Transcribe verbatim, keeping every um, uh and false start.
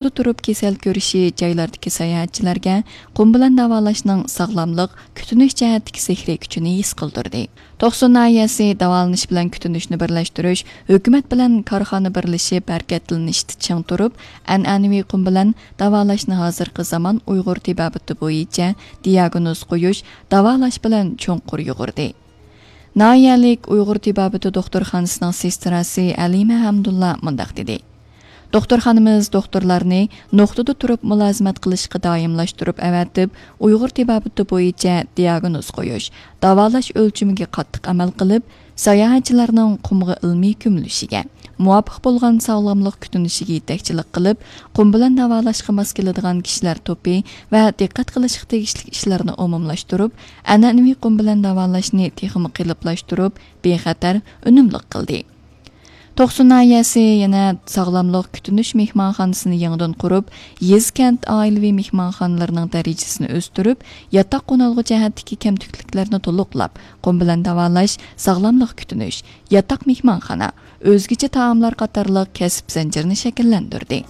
تۇرۇپ كېسەل كۆرۈشى جايلاردىكى ساياھەتچىلەرگە قۇم بىلەن داۋالاشنىڭ ساغلاملىق، كۈتۈنۈش جەھەتتىكى سېھرىي كۈچىنى ھېس قىلدۇردى. توقسۇن ناھىيەسى داۋالىنىش بىلەن كۈتۈنۈشنى بىرلەشتۈرۈش، ھۆكۈمەت بىلەن كارخانا بىرلىشىپ ھەرىكەتلىنىشتە چىڭ تۇرۇپ، ئەنئەنىۋى قۇم بىلەن داۋالاشنى ھازىرقى زامان ئۇيغۇر تېبابىتى بويىچە دىياگنوز قويۇش، داۋالاش بىلەن چوڭقۇر يۇغۇردى. ناھىيەلىك ئۇيغۇر تېبابىتى دوختۇرخانىسىنىڭ سېستراسى ئەلىمە ھەمدۇللا مۇنداق دېدى: دوختۇرخانىمىز دوختۇرلارنى نۇقتىدا تۇرۇپ مۇلازىمەت قىلىشقا دائىملاشتۇرۇپ ئەۋەتىپ، ئۇيغۇر تېبابىتى بويىچە دىياگنوز قويۇش، داۋالاش ئۆلچىمىگە قاتتىق ئەمەل قىلىپ، ساياھەتچىلەرنىڭ قۇمغا ئىلمىي كۆمۈلۈشىگە، مۇۋاپىق بولغان ساغلاملىق كۈتۈنۈشىگە يېتەكچىلىك قىلىپ، قۇم بىلەن داۋالاشقا ماس كېلىدىغان كىشىلەر توپى ۋە دىققەت قىلىشقا تېگىشلىك ئىشلارنى ئومۇملاشتۇرۇپ، ئەنئەنىۋى قۇم بىلەن داۋالاشنى تېخىمۇ قېلىپلاشتۇرۇپ، بىخەتەر، ئۈنۈملۈك قىلدى. توقسۇن ناھىيەسى يەنە ساغلاملىق كۈتۈنۈش مېھمانخانىسىنى يېڭىدىن قۇرۇپ، يېزا، كەنت ئائىلىۋى مېھمانخانىلىرىنىڭ دەرىجىسىنى ئۆستۈرۈپ، ياتاق قونالغۇ جەھەتتىكى كەمتۈكلۈكلەرنى تولۇقلاپ، قۇم بىلەن داۋالاش، ساغلاملىق كۈتۈنۈش، ياتاق مېھمانخانا، ئۆزگىچە تائاملار قاتارلىق كەسىپ زەنجىرىنى شەكىللەندۈردى.